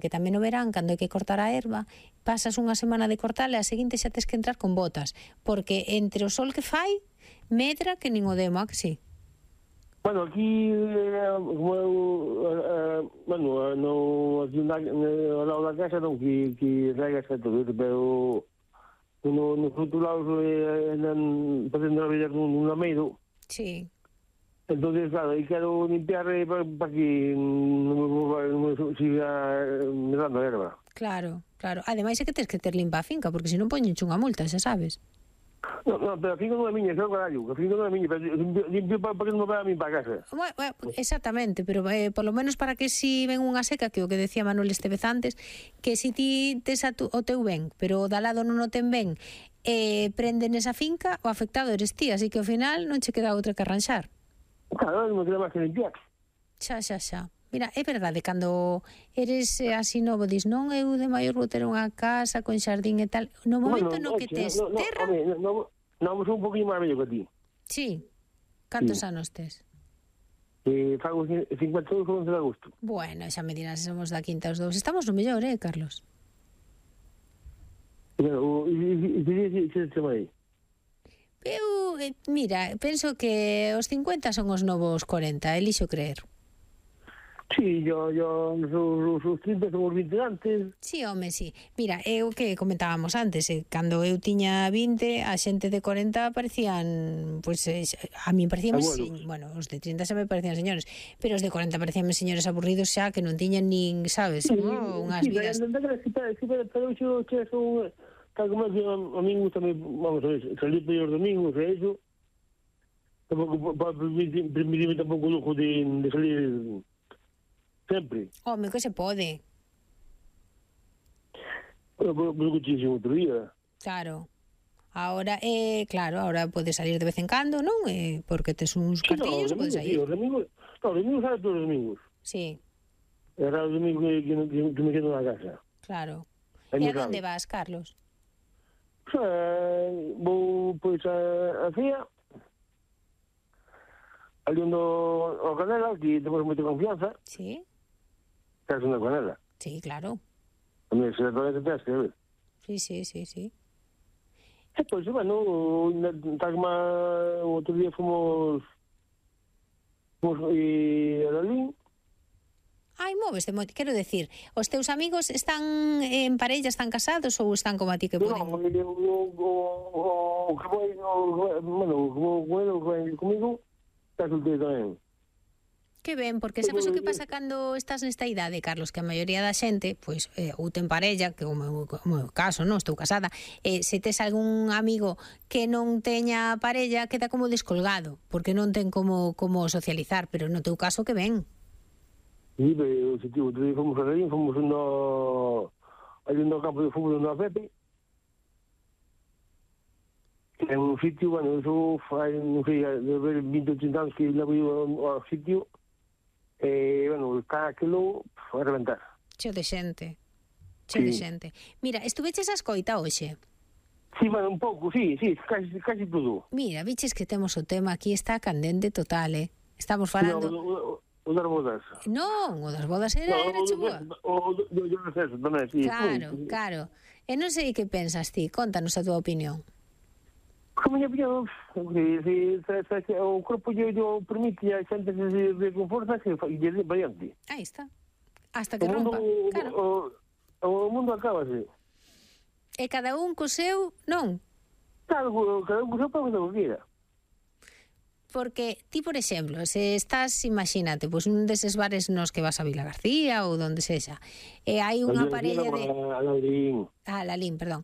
que tamén no verán, cando hai que cortar a erva, pasas unha semana de cortala e a seguinte xa tes que entrar con botas, porque entre o sol que fai, medra que nin o demo, que sí? Bueno, aquí, como eu, aquí ao lado da casa non, que regas e todo iso, pero nos outros lados andan facendo a vida nun lameiro. Sí. Entonces, claro, aí quero limpiar para que non me siga medando a erva. Claro, claro. Ademais é que tens que ter limpa a finca, porque se non poñenche unha multa, xa sabes. No, pero a finca non é miña, xa o carallo. A finca non é miña, pero limpio para que non me vaya a mí para casa. Bueno, exactamente, pero por lo menos para que si ven unha seca, que o que decía Manuel Estevez antes, que si ti tes o teu ben, pero o da lado non o ten ben, prenden esa finca, o afectado eres ti, así que ao final non che queda outra que arranxar. Claro, non queda máis que limpiar. Xa. Mira, é verdade, cando eres así novo, dis, non, eu de maior vou ter unha casa con xardín e tal, no momento no que tes terra... Non, son un poquinho máis vello que ti. Sí. Cantos anos tes? Fago 52 con 11 de agosto. Bueno, xa me dirás, somos da quinta os dous. Estamos no mellor, Carlos? Bueno, e se chama aí? Eu, mira, penso que os 50 son os novos 40, elixo creer. Sí, yo os 30 son os 20 antes. Sí, home, sí. Mira, o que comentábamos antes, cando eu tiña 20, a xente de 40 parecían, pues, a mí parecían, bueno, os de 30 xa me parecían señores, pero os de 40 parecían señores aburridos xa, que non tiñan nin, sabes, unhas vidas. Pero eu son... Tal como a mí gusta, vamos a ver, salir por os domingos e iso, tampouco para permitirme tampouco o lujo de salir sempre. Home, que se pode. Bueno, pero que te outro día. Claro. Ahora, claro, ahora podes salir de vez en cando, non? Porque tes uns cartillos, podes sair. Sí, os domingos sabe todos os domingos. Sí. Era os domingos que me quedo na casa. Claro. E a onde vas, Carlos? Vou, pois, a Cía, ali onde o Canela, que temos moita confianza. Sí. Estás na Canela. Sí, claro. A mí se todavía te tens que ver. Sí. E, pois, bueno, outro día fomos a Lalín. Ai, móveste moito, quero decir, os teus amigos están en parella, están casados ou están como a ti que poden? Non, o que comigo está solteiro tamén. Que ben, porque sabes o que pasa cando estás nesta idade, Carlos, que a maioría da xente, pois, ou ten parella, que como o caso, non, estou casada, se tes algún amigo que non teña parella, queda como descolgado, porque non ten como socializar, pero no teu caso que ben. Sí, pero outro día fomos a Lalín, fomos ali no campo de fútbol no Pepe, que é un sitio, bueno, eso fai, non sei, de ver 20 ou 30 anos que levo ao sitio, bueno, está aquilo a reventar. Cheo de xente. De xente. Mira, estuveches a escoita hoxe? Sí, bueno, un pouco, sí, casi todo. Mira, viches que temos o tema aquí, está candente total, Estamos falando... O das bodas. Non, o das bodas era chegua. O do receso tamén, sí. Claro. E non sei que pensas ti, contanos a túa opinión. Como a opinión, se o corpo yo permite a xente de con forza que lle dé variante. Aí está. Hasta que rompa. Claro. O mundo acábase. E cada un co seu, non? Claro, cada un co seu para que queira. Porque ti, por exemplo, se estás, imagínate, pois un deses bares nos que vas a Vila García ou donde sexa, e hai unha parella de... A Lalín, perdón.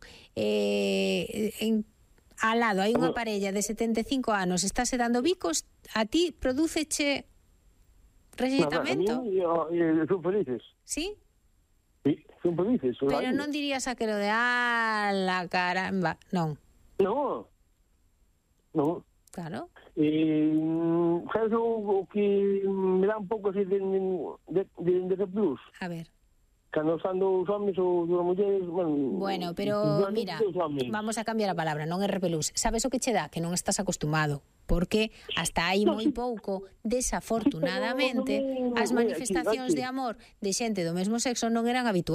Al lado hai unha parella de 75 anos, estáse dando bicos, a ti prodúceche rexeitamento? Son felices. Sí? Sí, son felices. Pero non dirías aquelo de, la caramba, non. Non. Claro. Sabes o que me dá un pouco así de plus? A ver. Cando están dos homens ou dos mulleres, bueno, pero mira, vamos a cambiar a palabra, non é repelús. Sabes o que che dá? Que non estás acostumado, porque hasta hai moi pouco, desafortunadamente, as manifestacións de amor de xente do mesmo sexo non eran habituais.